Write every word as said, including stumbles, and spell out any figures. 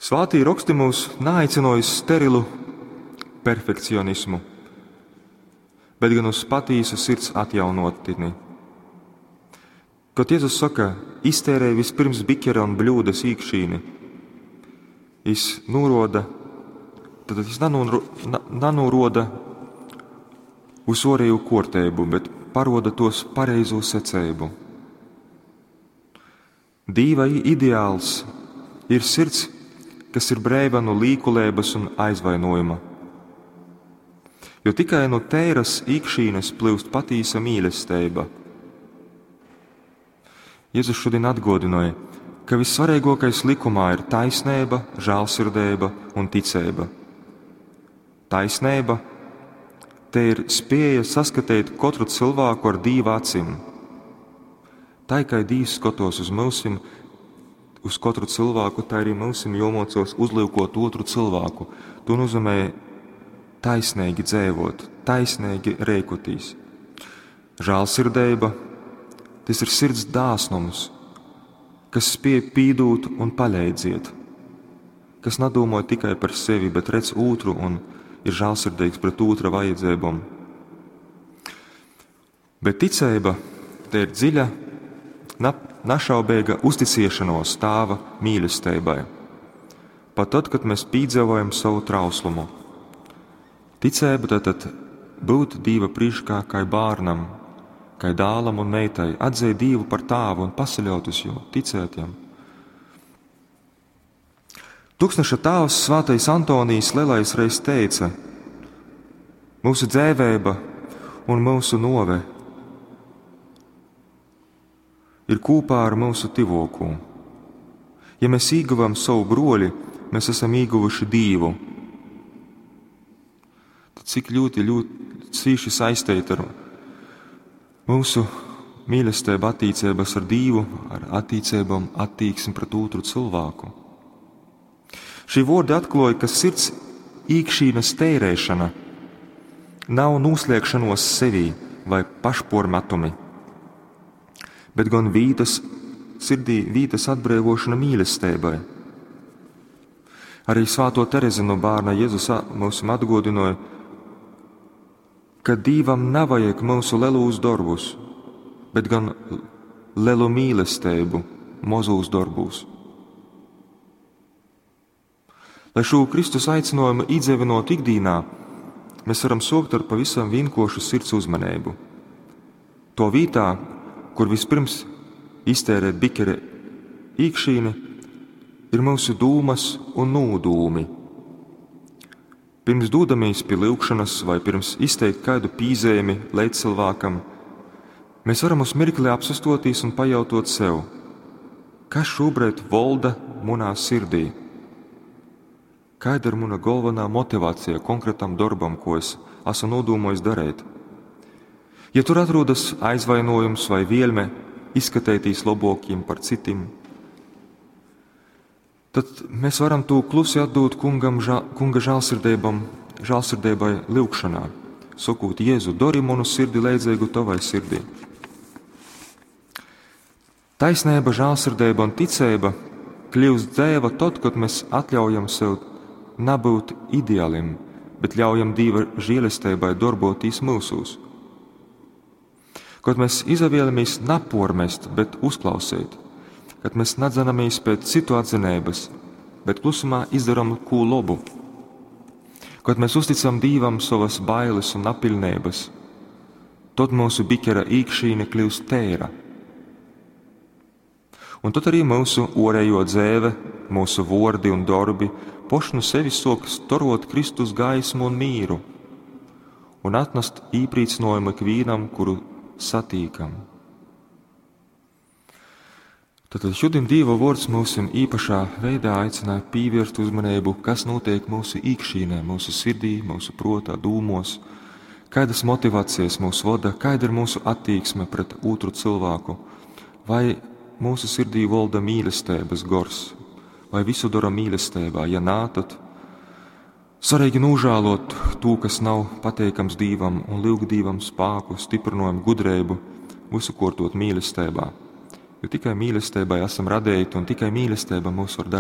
Svātī roksti mūs naaicināja uz sterilu perfekcionismu, bet gan uz patīsu sirds atjaunotni. Kad Jēzus saka, iztērēj vispirms bikera un bļūdas īkšīni, jis nūroda, tad jis nanūro, na, nanūroda uz orēju kuorteibu, bet paroda tos pareizo seceibu. Dīva ideāls ir sirds, kas ir breiva no līkuleibas un aizvainojuma. Jo tikai no tēras īkšīnes plūst patīsa mīlestība. Jēzus šodien atgodināja, ka vissvarīgākais likumā ir taisnība, žēlsirdība un ticība. Taisnība te ir spēja saskatīt katru cilvēku ar Dīva acīm. Tā kā Dīvs skatos uz mūsim, uz katru cilvēku, tā arī mūsim jomocos uzlūkot otru cilvēku. To nozīmē taisnīgi dzēvot, taisnīgi rēkotīs. Žēlsirdība, tas ir sirds dāsnums, kas spēj pīdūt un paleidziet, kas nedomā tikai par sevi, bet redz otru un ir žēlsirdīgs pret otra vajadzībām. Bet ticība te ir dziļa, našaubīga uzticēšanos Tāva mīlestībai. Pat tad, kad mēs piedzīvojam savu trauslumu. Ticība tātad būt Dīva priekšā kā bērnam, kā dālam un meitai, atzīt Dievu par tāvu un pasaļaut uz jo, ticēt jam. Tūkstneša tēvs Svētais Antonijs Lielais reiz teica: Mūsu dzēvēba un mūsu nove ir kopā ar mūsu tivokū. Ja mēs ieguvam savu broļi, mēs esam ieguvuši Dievu. Tad cik ļoti, ļoti cīši saistīti ar mūsu mīlestību attiecības ar Dievu, ar attiecībām, attieksmi pret otru cilvēku. Šī vārdi atklāja, ka sirds īkšķīnas tērēšana nav noslēgšanos sevī vai pašpormetumi, bet gan vītas, sirdī vītas atbrīvošana mīlestībai. Arī Svēto Terezi no bērna Jēzus mums atgodināja, ka Dīvam nav vajag mūsu lelūs darbus, bet gan lelu mīlestību mozūs darbūs. Lai šo Kristus aicinājumu iedzīvinot ikdienā, mēs varam sokt ar pavisam vienkošu sirds uzmanību. To vītā, kur vispirms iztērēt bikere īkšķīni, ir mūsu dūmas un nūdūmi. Pirms dūdamies pie lūgšanas vai pirms izteikt kādu pīzēmi līdzcilvēkam, mēs varam uz mirkli apsastotīs un pajautot sev, kas šobrīd volda munā sirdī. Kāda ir mana galvenā motivācija konkrētam darbam, ko es esmu nodomājis darīt? Ja tur atrodas aizvainojums vai vielme izskatētīs labākiem par citiem, tad mēs varam to klusi atdot kungam, žā, kunga žēlsirdībam, žēlsirdībai lūgšanā, sakot, Jēzu, dori manu sirdi leidzīgu tavai sirdī. Taisnība, žēlsirdība un ticība kļūst dzēva tad, kad mēs atļaujam sev nebūt ideālim, bet ļaujam Dieva žēlastībai darboties mūsos. Kad mēs izvēlamies napormest, bet uzklausīt, kad mēs nedzanamies pēc citu atzinības, bet klusumā izdarām ko labu, kad mēs uzticam Dievam savas bailes un napilnības, tad mūsu bikera īkšķīne kļūst tēra. Un tad arī mūsu orējo dzēve, mūsu vordi un darbi poši no sevis sok storot Kristus gaismu un mīru un atnest īprīcinājumu ikvienam, kuru satīkam. Tātad šodien Dieva vārds mūsim īpašā veidā aicināja pievērst uzmanību, kas notiek mūsu īkšķīnē, mūsu sirdī, mūsu protā, dūmos, kādas motivācijas mūs vada, kāda ir mūsu attieksme pret otru cilvēku, vai mūsu sirdī valda mīlestības gors, vai visu dara mīlestībā, ja nā, tad svarīgi nožēlot to, kas nav pateikams Dievam, un lūgt Dievam spēku, stiprinājumu, gudrību, visu kortot mīlestībā. Jo tikai mīlestībai esam radīti, un tikai mīlestība mūs var darīt.